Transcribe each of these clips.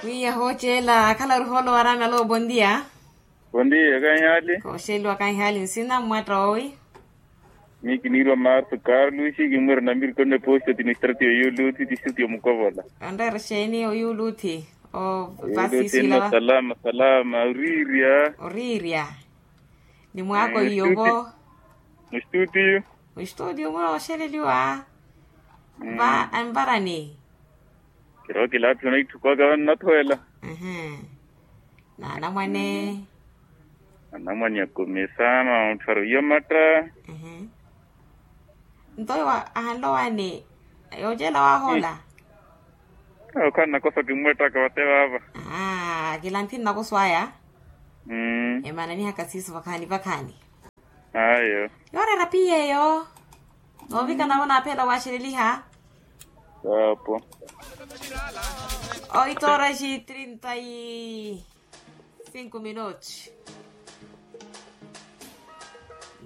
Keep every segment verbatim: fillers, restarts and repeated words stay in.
Wiya hooceela akhala ori hoolo waraana alo bondia. Bondia kanhali. Kooxeliwa kanhali nsina mmwatta owi. Miyo kiniirwa marto carlos kimmwira namirikoni eposto ti nistrati oyuluthi ti strati omukovola. Onreera xeeni oyuluthi? O vasiswila salama salama oriirya. Oriirya. Ni mwaako iyovo. Mustutiyo. Mustutiyo muna oxeleliwa. Va anvarani. Kirowa kilaaphi onaitthukwaka vannathoela. Naanamwane. Anamwane akomesa maontthwaro iyomatta. Nto ahanlowaani yoocela wahoola. Okhala nakoso kimmwettaka vate vaava. Kilanthi nnakoso aya. Emananihaka siiso vakhaani vakhaani. Ayo. Yooreera piyeeyo. Noovika navo naaphela waaxeleliha. Apo. Oito horas e trinta e cinco minutos.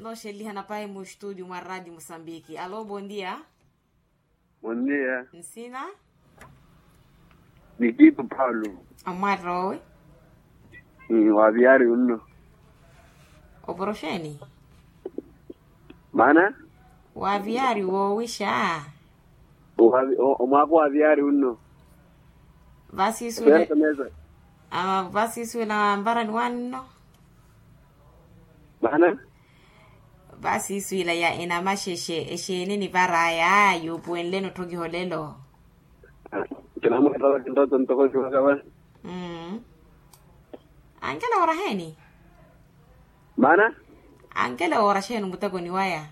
Nooxeleliha napahi mu studio mwa radio mosambiki alo bondia. Bondia. Nsina? Nikito paulo. Amwaroowi. Waviari unno. Oporoxeni? Maana? Waviari woowixa. Omwaako waviari unno. Vasiswile. Vasiswila mvarani wanno. Maana? Vasiswila ya enamaxexe exeene nivaraya yuupuwenleni otthokiha olelo. Kinamwetala kintoto ntoko kiwakava. Ankela wooraheeni? Maana? Ankela wooraxeeni omutekoni waya?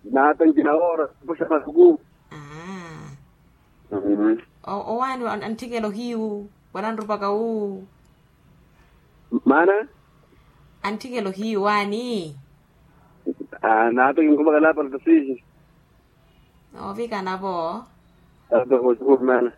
Nata nkinawoora kupuxa masuku. Owaani antthikela ohiyu wala anrupaka wu? Maana? Antthikela ohiyu waani? Nata kinkumakala apartasihi. Noovikana vo. Ata koxuku maana.